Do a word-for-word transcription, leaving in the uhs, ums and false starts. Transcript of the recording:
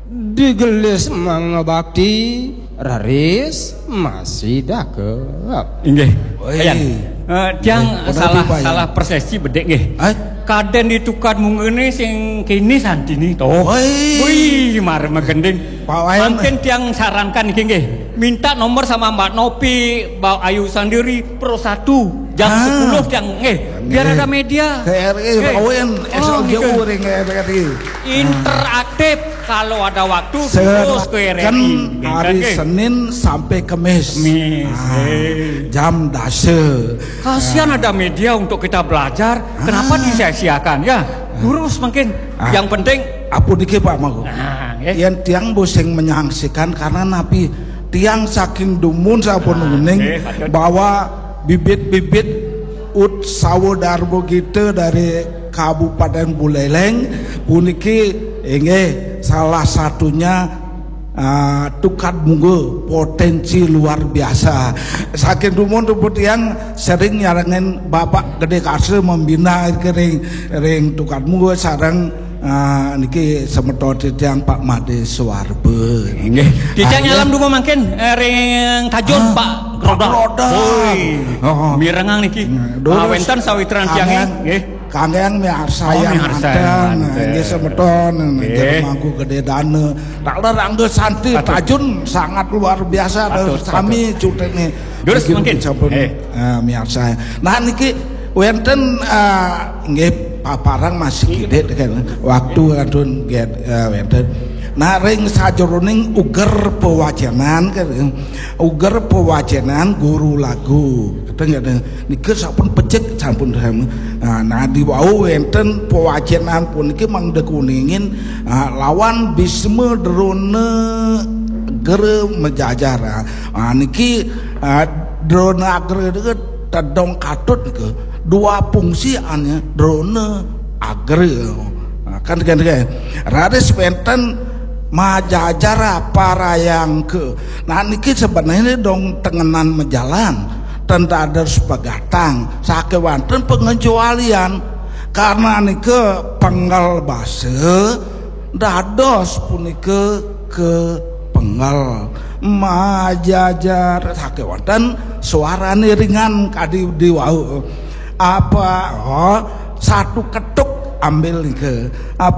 Digelis mangabakti, raris masih dakep. Inggih. Oi. Ayan. Eh, tiang Eh, salah Pak Wayan. Salah persepsi bedik nggih. Eh? Kaden di tukad munggah ni sing kini santini toh. Oi. Wih, mar magending. Pak Wayan. Mangkin tiang sarankan iki nggih. Minta nomor sama Mbak Nopi, Mbak Ayu sendiri, Pro satu jam Ah. sepuluh tiang nggih. Biar Nggih. Ada media. K R I Nggih. Pak Wayan, Oh, S L J U gitu. Ring K R I. Interaktif, kalau ada waktu Saya terus ke kan R R I. hari Nggih. Senin sampai Kemis. Kemis, Ah, eh. Jam dasa. Kasihan ada media untuk kita belajar. Kenapa Ah. disia-siakan ya? Lurus mungkin. Ah. Yang penting Apa niki Pak Mangku? Nah, nggih. Yang tiang bosing menyaksikan karena napi tiang saking dumun sampun Ah, uning nggih, patut. Bahwa bibit-bibit ut sawo darbo kita dari Kabupaten Buleleng puniki inggih salah satunya ah, tukad munggo potensi luar biasa. Saking dumun tuh tiang sering nyarengin Bapak Gede Karse membina ring ring tukad munggo sareng ah, niki semeton tiang Pak Made Suarbe. Nggih. Kita Ah, nyalam dulu mangkin eh, ring Tajun Ah, Pak Roda. Roda. Woi. Oh. Mirengang niki. Dulu Ah, wenten sawitran tiang kangen, nggih. kangen miarsa Oh, yang miarsa manten, yang manten. Nggih semeton, Nggih. Jero Mangku Gede Dana. Taler Angga Santi Patut. Tajun sangat luar biasa. Patut, Sami patut. Cutene. Terus Niki mungkin. sampun Eh. eh, miarsa. Nah niki wenten eh, nggih paparang masih gede kan. Waktu kadun get eh, wenten. Nah ring sajeroning uger pewacenan kan. Uger pewacenan guru lagu. Kadang nggih nika sampun pecik sampun. Nah, nah di wau wenten pewacenan puniki mangda kuningin ah, lawan Bisma Drona Gere Mejajar. Ah, niki ah, Drona Gere niki tedong katut niki. Dua fungsi ane Drona Agre. Nah, kan kan kan. Raris wenten Majajar parayangke. Nah niki sebenarnya dong tengenan mejalan. Ten dados pegatang sakewanten pengecualian karena nika penggal basa dados punika ke penggal majajar sakewanten suarane ringan kadi diwau apa oh, satu ketuk ambil nika apa